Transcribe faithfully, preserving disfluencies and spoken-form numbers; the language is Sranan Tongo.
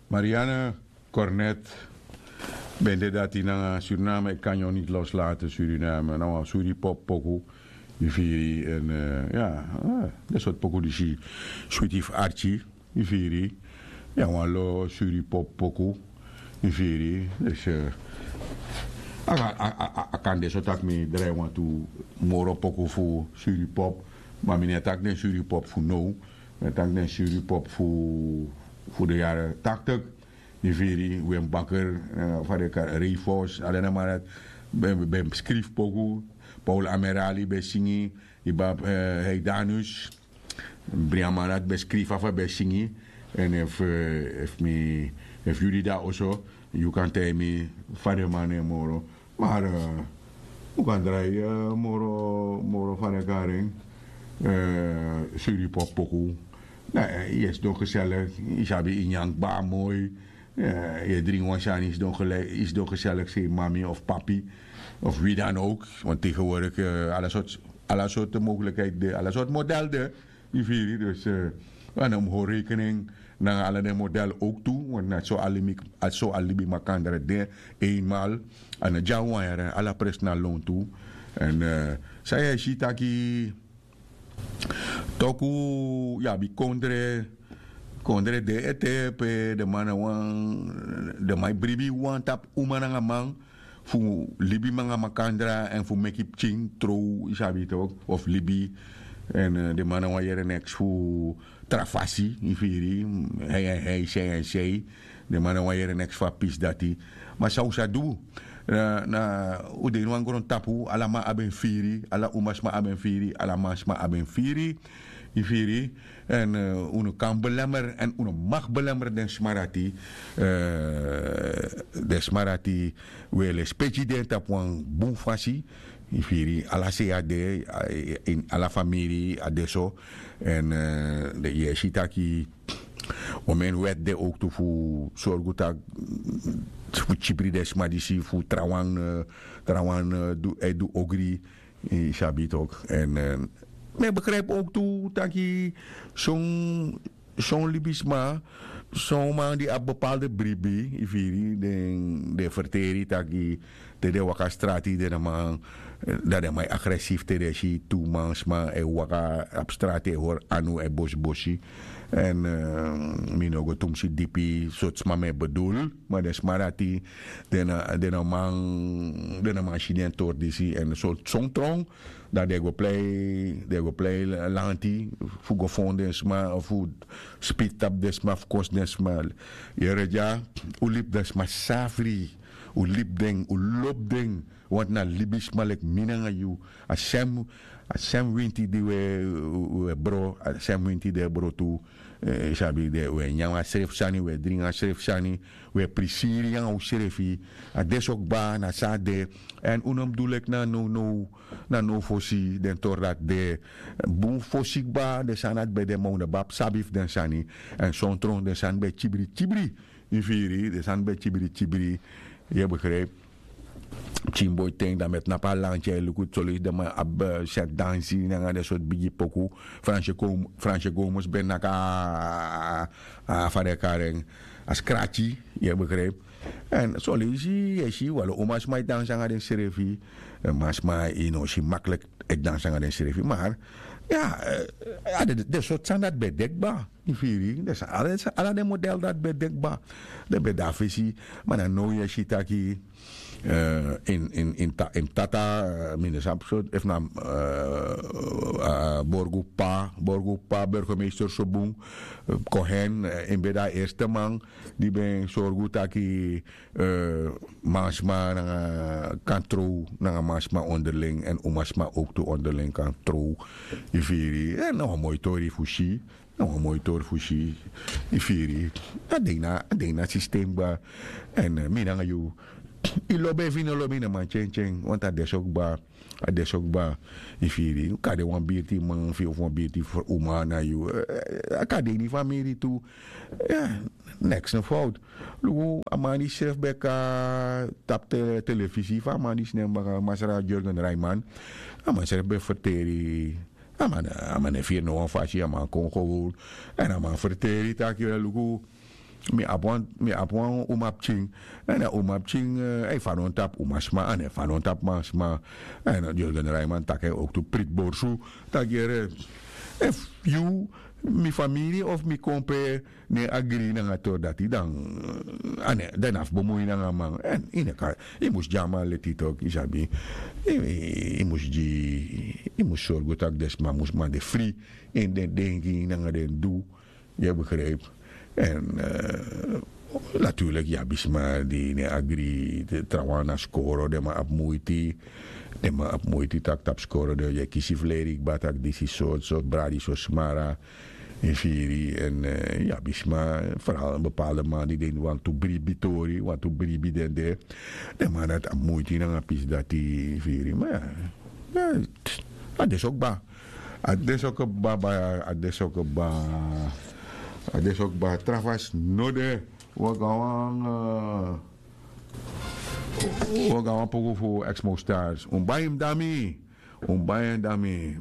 Marianne Cornet ben de dati nanga Suriname, ik kan jou niet loslaten Suriname, na wan suri pop poku. Yu firi, en ya, den sort poku disi switi fu arki. Yu firi, ya, wan lo suri pop poku. Yu firi, dus a kan de so tak' mi drai wantu moro poku fu suri pop. Ma mi no e taki den suri pop fu now. Mi e taki den suri pop fu fu de yari taktik. Yu firi, wen baker, fa den kari, reifos, ala den man dati ben skrifi poku. Paul Amerali ben singi, iba, heidanus. Brian man dati ben skrifi afu a ben singi. En efu mi efu yu dida oso, yu kan taigi mi fa den man nen moro. Mar un kan drai moro moro fa den kari en, suri pop poku. Yu e sidon geselek, yu sabi, yu nyan kba moi. Yu e dringi wan sani, yu sidon geselek, sei mami of papi of wi dan ouk. Want tegenwoordik ala sortu mogelijkheid de, ala sortu model de. Yu firi, dus a no mus hori rekening nanga ala den model ouk tu. Want na so a libi makandra de. Eenmaal a no dya wan yere, ala presi na lon tu. En san yu e si taki toku yu abi kondre kondre de ete pe den man na wan den man e bribi wan tapu uma nanga man fu libi nanga makandra èn fu meki pikin trow, yu sabi tok, of libi. Èn den man na wan yere neks fu tra fasi, yu firi, hei èn hei, sei èn sei. Den man na wan yere neks fu a pisi dati. Ma san un sa du? Na un de ini wan grontapu, ala man abi en firi, ala umasma abi en firi, ala mansma abi en firi. Yu firi. Èn un no kan belemer èn un no mag belemer den sma dati. Den sma dati, un e lespeki den tapu wan bun fasi. Yu firi, ala sei a de, ini ala famiri a de so. Èn yu e si taki omeni wèt de owktu fu sorgu taki fu kibri den sma disi fu trawan trawan e du ogri. Yu sabi tok. Èn mi e begripi owktu taki son son libisma, son man di abi bepalde bribi, yu firi, den den ferteri taki te den waka strati den man, dan den man e agresifi te den si tu mansma e waka abi strati e hori anu e bosibosi. Èn mi no go tumsi dipi sortu sma mi e bedul, ma den sma dati den no man den no man si den tori disi èn sortu son tron. Dan den go plei den go plei lanti fu go fon den sma fu spiti tapu den sma fu kosi den sma. Yere dya, un libi den sma safri. Un libi den un lobi den. Wantu na libisma leki mi nanga yu. A sem a sem winti di un e bro a sem winti di e bro tu. Yu sabi den un e nyan a srefi sani un e dringi a srefi sani. Un e prisiri nanga unsrefi. A de so kba na san a de. Èn un no mus du leki na nownow na now fosi den tori dati de. Bun fosi kba den sani dati ben de ma un no ben abi sabi fu den sani. Èn sontron den sani ben e kibri kibri. Yu firi den sani ben e kibri kibri. Yu e begripi. Pikin boi ten dan mi e tnapu a lanti e luku soleisi den man abi seti dansi nanga den sortu bigi poku. Franse gomus ben naki a fa den e kari en a skrati. Yu e begripi. Èn soleisi yu e si walo umasma e dansi nanga densrefi. Masma yu no si makliki e dansi nanga densrefi mar ya, a de den sortu sani dati ben de kba. Yu firi den sani ala den model dati ben de kba. Den ben de na fesi. Ma na now yu e si taki ini tata mi no sabi so efu na borgu pa borgu pa burgemeister so bun. Kohen en ben de a erste man di ben sorgu taki mansma nanga kan trow nanga mansma onderling èn umasma owktu onderling kan trow. Yu firi èn na wan moi tori fu si. Na wan moi tori fu si. Yu firi a de ini a de ini a sistem kba. Èn mi nanga yu yu lobi efu yu no lobi yu no man tyentyen wantu a de so kba. A de so kba. Yu firi yu kan de wan birti man fu yu ofu wan birti uma na yu. A kan de ini famiri tu. Neks no fowtu. Luku a man di srefi ben kon tapu telefisi fu a man disi nen baka masra jorgen raiman. A man srefi ben ferteri. A man no e firi no wan fasi a man kon gewoon. Èn a man ferteri taki luku Mi abi wan umapikin, èn a umapikin e fadon tapu umasma, a no e fadon tapu mansma. Èn diosi den draiman taki en owktu priti borsu, taki yere, efu yu, mi famiri of mi kompe no e agri nanga tori dati, dan a no e abi bemui nanga a man. Èn yu no e kan, yu mus gi a man leti toki, yu sabi. Yu mus gi, yu mus sorgu tak' den sma mus man de fri ini den denki nanga den du. Yu e begripi? Èn naturlik yu abi sma di no e agri. Trawan na skoro den man abi muiti. Den man abi muiti tak' tapu skoro den yu e kisi fu leri kba tak' disi sortu sortu bradi so smara. Yu firi? Èn yu abi sma, foral bepalde man di den wantu bribi tori, wantu bribi den de. Den man dati abi muiti nanga pisi dati, yu firi? Ma ya, a de so kba. A de so kba. A de so kba. A de so kba. Tra fasi no de. Wi o go na wan poku fu Exmo Stars. Un bai en dami. Un bai en dami.